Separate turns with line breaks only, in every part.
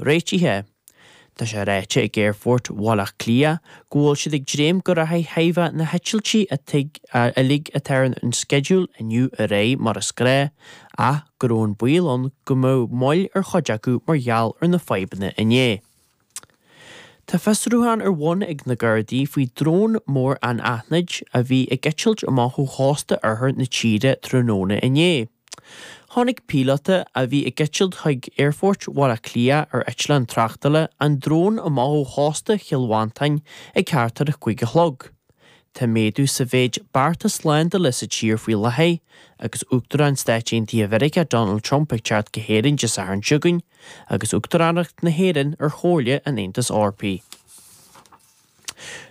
réitithe. Tá sé ráite ag Aerfort Bhaile Átha Cliath go bhfuil siad ag dréim go rachaidh thaobh na heitiltí uilig atá ar an sceideal inniu ar aghaidh mar is gnáth, ach go raibh an baol ann go mbeadh moill ar chuid acu mar gheall ar na fadhbanna inné. Tá fiosrúchán ar bun ag na Gardaí faoi drón mór anaithnid a bhí ag eitilt amach ó chósta oirthear na tíre tráthnóna inné. Chonaic píolóta a bhí ag eitilt chuig Aerfort Bhaile Átha Cliath ar eitleán tráchtála an drón amach ó chósta Chill Mhantáin ag thart ar a 5 a chlog. Tá méadú sa mhéid bearta slándála sa tír faoi láthair agus Uachtarán Stáit Aontaithe Mheiriceá Donald Trump ag teacht go hÉirinn Dé Sathairn seo chugainn agus Uachtaránacht na hÉireann ar Chomhairle an Aontais Eorpaigh.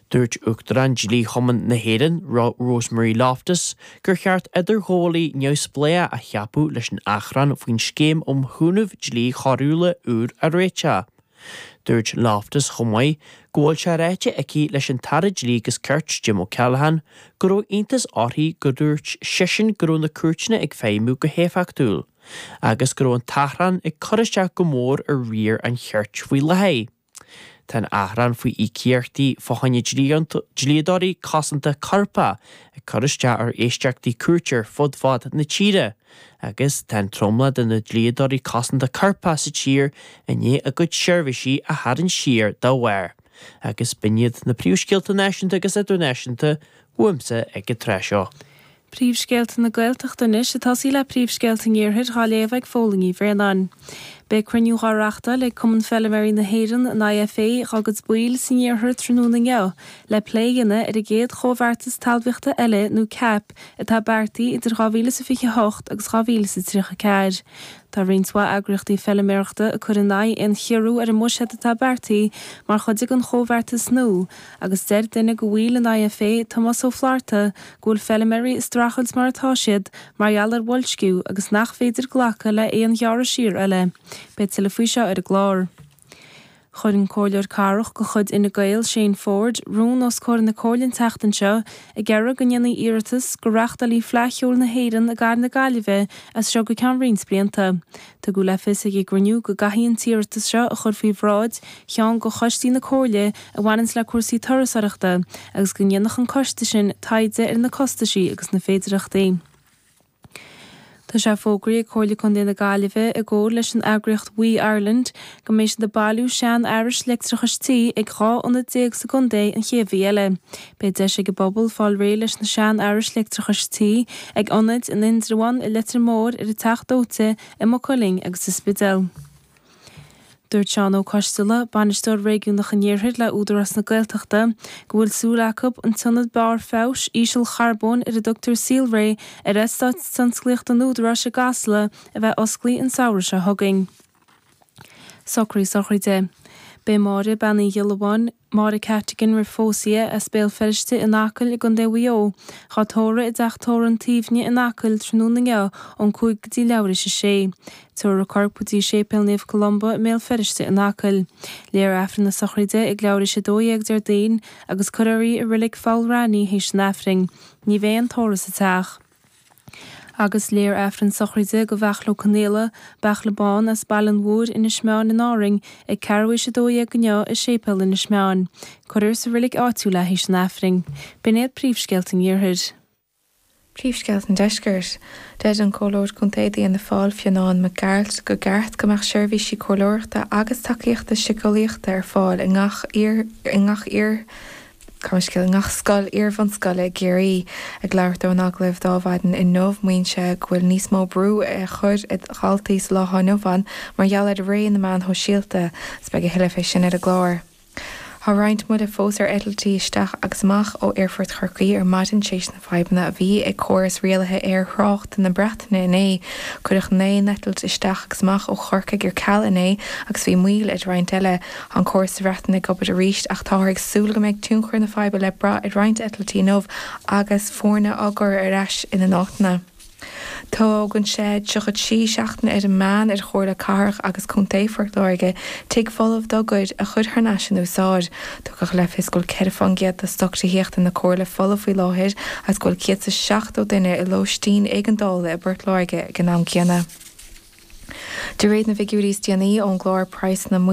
Dúirt Uachtarán Dlí-Chumann na hÉireann, Rosemary Loftus, gur cheart idirghabhálaí neamhspleách a cheapadh leis an achrann faoin scéim um chúnamh dlí choiriúla úr a réiteach. Dúirt Loftus chomh maith go bhfuil sé ráite aici leis an tAire Dlí agus Cirt, Jim O'Callaghan, go raibh iontas uirthi gur dhúirt seisean go raibh na cúirteanna ag feidhmiú go héifeachtúil, agus go raibh an t-achrann ag cur isteach go mór ar riar an chirt faoi láthair. Tá an achrann faoi íocaíochtaí fá choinne dlíodóirí cosanta coirpeach ag cur isteach ar éisteachtaí cúirte ar fud fad na tíre. Agus tá an tromlach de na dlíodóirí cosanta coirpeach sa tír i ndiaidh a gcuid seirbhísí a tharraingt siar dá bharr. Agus b'in iad na príomhscéalta náisiúnta agus idirnáisiúnta uaimse ag an tráth seo.
Príomhscéalta na Gaeltachta anois, ag tosaí le príomhscéalta an Iarthair dhá léamh ag Fódhla Ní Bhraonáin. Beidh cruinniú dhá reachtáil ag Cumann Feilméaraí na hÉireann, an IFA, dhá gcuid baill san Iarthar tráthnóna inniu le plé a dhéanamh ar an gcéad Chomhbheartas Talmhaíochta eile nó cap atá beartaithe idir 2028 agus 2034. Tá roinnt mhaith eagraíochtaí feilméarachta ag cur in aghaidh aon chiorrú ar an mbuiséad atá beartaithe mar chuid den chomhbheartas nua agus deir duine de bhaill an IFA, Tomás Ó Flatharta, go bhfuil feilméaraí ag streachailt mar atá siad mar gheall ar bhoilsciú agus nach féidir glacadh le haon ghearradh siar eile. Beidh tuilleadh faoi seo ar an gclár. Chuir an Comhairleoir Cathrach de chuid Fhine Gael, Shane Forde, rún os comhair na Comhairle an tseachtain seo ag iarraidh go ndéanfaí iarratas go reáchtálfaí Fleadh Cheoil na hÉireann i gcathair na Gaillimhe as seo go ceann roinnt blianta. Tugadh le fios ag an gcruinniú go gcaithfí an t-iarratas seo a chur faoi bhráid cheann de choistí na Comhairle a bhaineanns le cúrsaí turasóireachta agus go ndéanfadh an coiste sin taighde ar na costaisí agus na féidireachtaí. Tá sé fógraithe ag Comhairle Contae na Gaillimhe i gcomhar leis an eagraíocht WEEE Ireland go mbeidh siad ag bailiú sean-fhearais leictreachais tí ag 12 ionad sa gcontae an chéad mhí eile. Beidh deis ag an bpobal fáil réidh leis na sean-fhearais leictreachais tí ag ionaid in Indreabhán, i Leitir Móir, ar an Teach Dóite, i Maigh Cuilinn agus sa Spidéal. Dúirt Seán Ó Coisteala, Bainisteoir Réigiúnach an Iarthair le Údarás na Gaeltachta, go bhfuil súil acu an t-ionad barr feabhais ísealcharbóin ar a dtugtar Saolré ar eastát tionsclaíochta an Údaráis i gCasla a bheith osclaithe an samhradh seo chugainn. Socruithe sochraide. Beidh Máire Bean Uí Ghiollabháin, Máire Cattigan roimh phósadh í, as Béal Feirste in Acaill i gContae Mhaigh Eo, dhá tórramh i dTeach Tórraimh an tSuibhne in Acaill tráthnóna inniu ón 5 go dtí leathuair théis a sé. Tabharfar a corp go dtí Séipéal Naomh Columba i mBéal Feirste in Acaill. Léifear Aifreann na sochraide ag leathuair théis 12 Déardaoin agus cuirfear í i Reilig Pholl Raithní théis an Aifrinn. Ní bheidh aon tórramh sa teach. Agus léifear Aifreann sochraide do Bheachla Ó Conaola, Beachla Bán, as Baile an Mhúir, Inis Meáin in Árainn, ag ceathrú théis 12 inniu i Séipéal Inis Meáin. Cuirfear sa reilig áitiúil é théis an Aifrinn. B'in iad príomhscéalta an Iarthair.
Príomhscéalta an Deiscirt. Deir an Comhairleoir Contae d'Fhianna Fáil, Fionán Mac Gearailt, gur ceart go mbeadh seirbhísí comhairleoireachta agus tacaíochta síceolaíochta ar fáil i ngach iar i ngach iar Gabh mo leithscéal, i ngach scoil iar-bhunscoile i gCiarraí. Ag labhairt dó in agallamh d'Adhmhaidin inniu, maíonn sé go bhfuil níos mó brú á chur ar dhaltaí sa lá atá inniu ann mar gheall ar ré na meán shóisialta. Agus beidh a thuilleadh fé sin ar an gclár. Tá roinnt moille fós ar eitiltí isteach agus amach ó Aerfort Chorcaí ar maidin tar éis na fadhbanna a bhí ag córas rialaithe aerthráchta na Breataine inné. Cuireadh 9 n-eitilt isteach agus amach ó Chorcaigh ar ceal inné agus bhí moill ar roinnt eile. Tá an córas sa Bhreatain ag obair arís ach táthar ag súil go mbeidh tionchar na faidhbe le brath ar roinnt eitiltí inniu agus foirne á gcur ar ais ina n-áiteanna. Tógann sé 33 seachtaine ar an meán ar Chomhairle Cathrach agus Contae Phort Láirge tigh folamh dá gcuid a chur thar n-ais in úsáid. Tugadh le fios go bhfuil 4 fán gcéad de stoc tithíochta na Comhairle folamh faoi láthair agus go bhfuil 170 duine i lóistín éigeandála i bPort Láirge ag an am céanna. De réir na bhfigiúirí is déanaí ón gclár Praghsanna.